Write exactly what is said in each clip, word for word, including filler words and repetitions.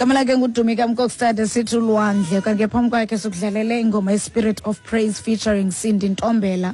Igama lakhe nguDumika Mkokstad, sithi "Ulwandle". Kanti ke phambi kwakhe sikudlalele ingoma ye-Spirit of Praise featuring Cindy Ntombela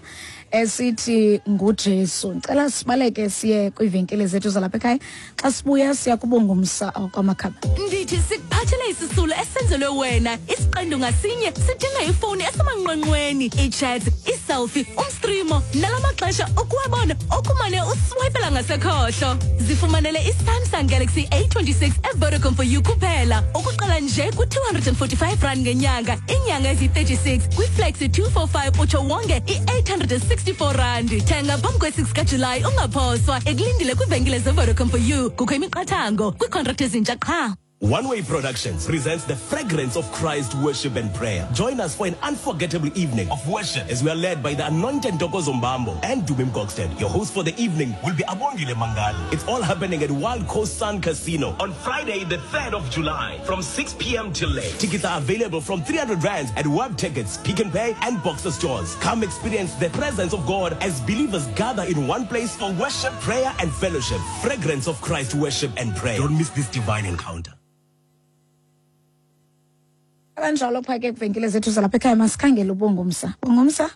esithi "NguJesu". Ndicela sibaleke siye kwiivenkile zethu zalapha ekhaya. Xa sibuya siya kuBongumsa kwamakhaba. Ndithi sikuphathele isisulo esenzelwe wena. Isiqendu ngasinye sidinga ifowuni esemanqwanqweni, ii-chats, ii-selfie, umstrimo, nala maxesha ukuwabona okumane uswayipela ngasekhohlo. Zifumanele iSamsung Galaxy A twenty-six eVodacom for you kuphela, ukuqala nje ku-two hundred and forty-five rand ngenyanga, iinyanga eziyi-thirty-six, kwiFlexi two four five, utsho wonge i-eight hundred and sixty-four rand. Thenga phambi kwe-six kaJulayi, ungaphoswa. Ekulindile kwiivenkile zeVodacom for you. Kukho imiqathango kwiikhontrakthi ezintsha qha. One Way Productions presents the Fragrance of Christ Worship and Prayer. Join us for an unforgettable evening of worship as we are led by the anointed Ntokozo Mbambo and Dumi Mkokstad. Your host for the evening will be Abongile Mangali. It's all happening at Wild Coast Sun Casino on Friday, the third of July from six p m till late. Tickets are available from three hundred rands at Web Tickets, Pick n Pay and Boxer stores. Come experience the presence of God as believers gather in one place for worship, prayer and fellowship. Fragrance of Christ Worship and Prayer. Don't miss this divine encounter. Kanjalo phaa ke kwiivenkile zethu zalapha ekhaya, masikhangele uBongumsa. Bongumsa.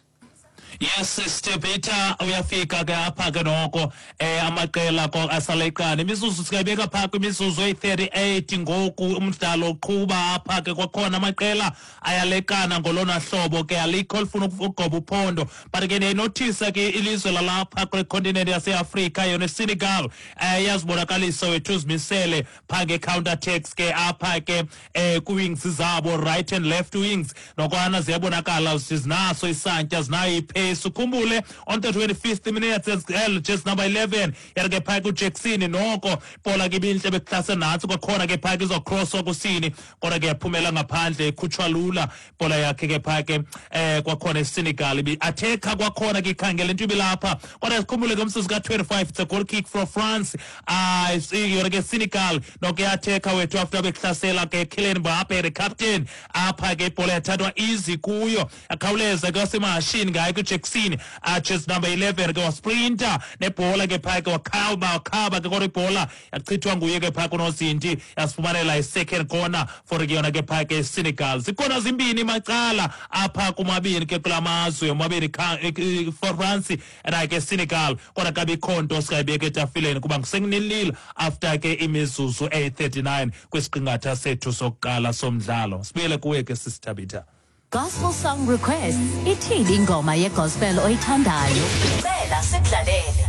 Yes, Sister Peter, uyafika ke apha ke noko eh amaqela ko asaleqana. Imizuzu singayibeka phaa kwimizuzu eyi-thirty-eight ngoku. Umdlalo uqhuba apha ke kwakhona, amaqela ayaleqana ngolona hlobo ke, alikho olifuna ukugoba uphondo. But ke ndiyayinothisa ke ilizwe lalapha kule continent yaseAfrika, yona iSenegal, um iyazibonakalisa wethu, uzimisele phaa nge-counter attacks ke apha ke um kwi-wings zabo, right and left wings, nokwana ziyabonakala zinaso isantya, zinayo ipace. Ukhumbule on the twenty-fifth minutes as well, just number eleven yari ke phaya kuJackson, noko ibhola ke ibintle, bekuhlase nantsi kwakhona ke phaya, izocrosswa kusini, kodwa ke yaphumela ngaphandle, ikhutshwa lula ibhola yakhe ke phaya ke. eh kwakhona iSenegal ibi-attack-a kwakhona ke, ikhangela into ibilapha, kodwa sikhumbule ke umzuzu ka-twenty-five, it's a goal kick for France. Ah, yona ke Senegal noko iya-attack-a wethu after bekuhlasela ke Kylian Mbappe, the captain apha ke. Ibhola yathathwa easy kuyo, akhawuleza ke wasemahashini ngayo kuJackson, uh, just number eleven ke, wasprinta nebhola ke phaya ke, wakhaba, wakhaba ke, kodwa ibhola yachithwa nguye ke phaya kunozinti, yasifumanela i-second corner for ke yona ke phaya ke Senegal. Zikhona zimbini macala apha kumabini ke kula mazwe omabini, for France and ke Senegal, kodwa kabikho nto singayibeka etafileni kuba ngusenginilile after ke imizuzu eyi-thirty-nine kwisiqingatha sethu sokuqala somdlalo. Sibuyele kuwe ke, Sisithabitha. Gospel song requests. Ithini ingoma yegospel oyithandayo? Cela sikudlalele.